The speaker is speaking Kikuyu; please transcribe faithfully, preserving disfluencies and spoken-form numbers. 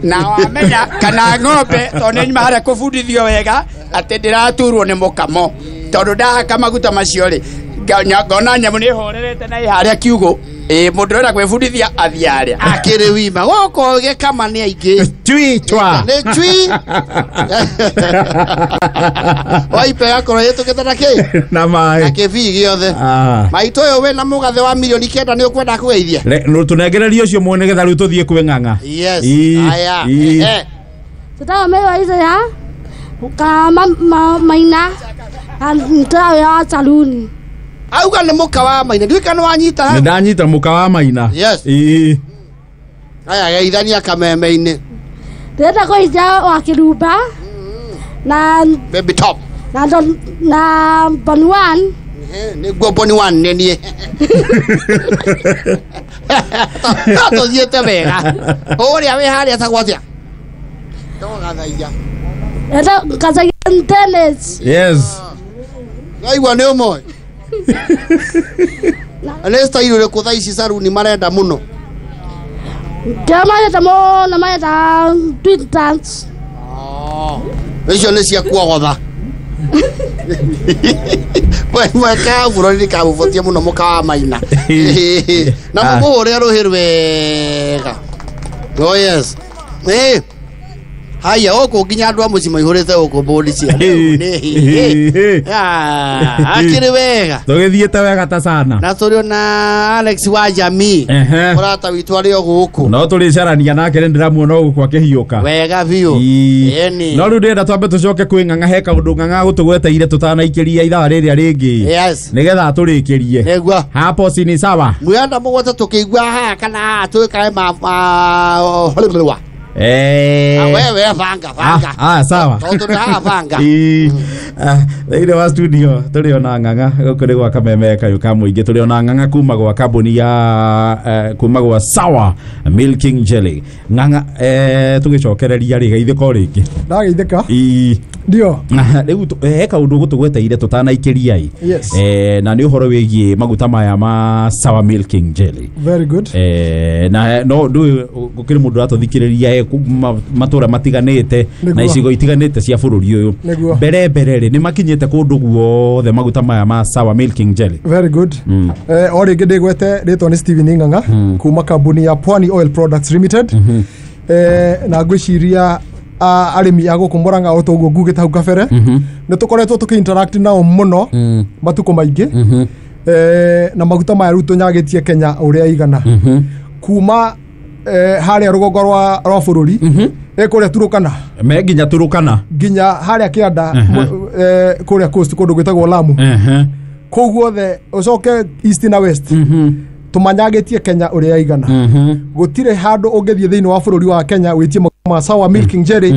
Na wamenya kana ng'ombe tondũ nĩ nyuma harĩa kũbundithio wega atĩ ndĩraturwo nĩ mũkamo tondũ ndahaka maguta macio rĩ ngona nyamũ nĩ ĩhorerete na ĩ harĩa kiugũ. Ĩ mũndũ ũrenda kwĩbundithia athiĩ harĩa akĩrĩ wima gũkũ gĩkama nĩ aingĩ chui chwa nĩ chui waipe gakorwo ĩtũkĩte na kĩ na maĩ na kĩbii gĩothe. Maitũ ũyũ wĩna mũgathe wa milioni kenda nĩ ũkwenda kũgeithia tũnengererie ũcio mwene nĩgetha rĩu tũthiĩ kwĩ ng'ang'a. Yes. Aya. Tũtagwo Mary wa Isaiah ka Maina na wĩra wa saluni. Auga nĩ mũka wa Maina ndiũĩ kana wanyita. Nĩ ndanyita mũka wa Maina. Yes. Ĩĩ. Aya geithania kameme-inĩ. Ndĩrenda kũgeithia wa Kĩrumba na Baby Top na na Boni One. Nĩguo Boni One nĩ niĩ. No tũthiĩte wega. Ũrĩa wĩ harĩa etagwo atĩa? Ndogathaia. Enda Dennis. Yes. Ngaigua nĩ ũmwe. Nĩ style ũrĩkũ thaa ici saruni marenda mũno? Ndio marenda mũno, marenda twin dance. Icio nĩ cia kuogotha. Mweka bũrũri nĩ kamũbotie mũno mũka wa Maina. Na mũmũhũre rũhĩ rwega. Oh yes. Eh. Haya gũkũ nginya andũ a mũciĩ maihũrĩte gũkũ mbũndi cia. Akĩrĩ wega. Tũgĩthiĩte wega ta sana. Na tũrĩ ona Alex wa Jamii. Mũrata witũ arĩ o gũkũ. No tũrĩcarania nake nĩ ndĩramuona gũkũ akĩhiũka. Wega biũ. Ĩni. No rĩu ndĩrenda twambe tũcoke kwĩ ng'ang'a he kaũndũ ng'ang'a gũtũgweteire tũtanaikĩria ithaa rĩrĩa rĩngĩ. Yes. Nĩgetha tũrĩkĩrie. Nĩguo. Hapo si ni sawa. Mwenda mũgwate tũkĩigua haha kana haha twĩkae ma Eh. Ah, wewe banga banga. Ah, ah sawa. Tondu ha banga. Eh. Thĩinĩ wa studio tũrĩ ona ng'ang'a gũkũ nĩ gwa kameme kayũ ka mũingĩ tũrĩ ona ng'ang'a kuma gwa kambuni ya kuma gwa Sawa Milking Jelly. Ng'ang'a eh tũgĩcokereria rĩ geithĩka o rĩngĩ. Ndageithĩka. Ii. Ndio. Rĩu he kaũndũ gũtũgweteire tũtanaikĩria ĩ. Eh na nĩ ũhoro wĩgiĩ maguta maya ma Sawa Milking Jelly. Very good. Eh na no ndũĩ gũkĩrĩ mũndũ ũratũthikĩrĩria matũra matiganĩte na icigo itiganĩte cia bũrũri ũyũ. Mbere mbere rĩ nĩ makinyĩte kũndũ guothe maguta maya ma Sawa Milking Jelly. Very good. Eh o rĩngĩ ndĩgwete rĩtwa nĩ Steven Ng'ang'a kuma kambuni ya Pwani Oil Products Limited. Eh na ngwĩciria arĩmi a gũkũ Murang'a o toguo ngugĩte hau kabere nĩ tũkoretwo tũkĩ interact nao mũno matukũ maingĩ eh na maguta maya rĩu tũnyagĩtie Kenya ũrĩa igana kuma harĩa rũgongo rwa rwa bũrũri ĩ kũrĩa Turukana me nginya Turukana nginya harĩa kĩanda kũrĩa coast kũndũ gwĩtagwo Lamu kũu guothe ũcoke east na west tũmanyagĩtie Kenya ũrĩa igana gũtirĩ handũ ũngĩthiĩ thĩinĩ wa bũrũri wa Kenya wĩtie ma Sawa Milking Jelly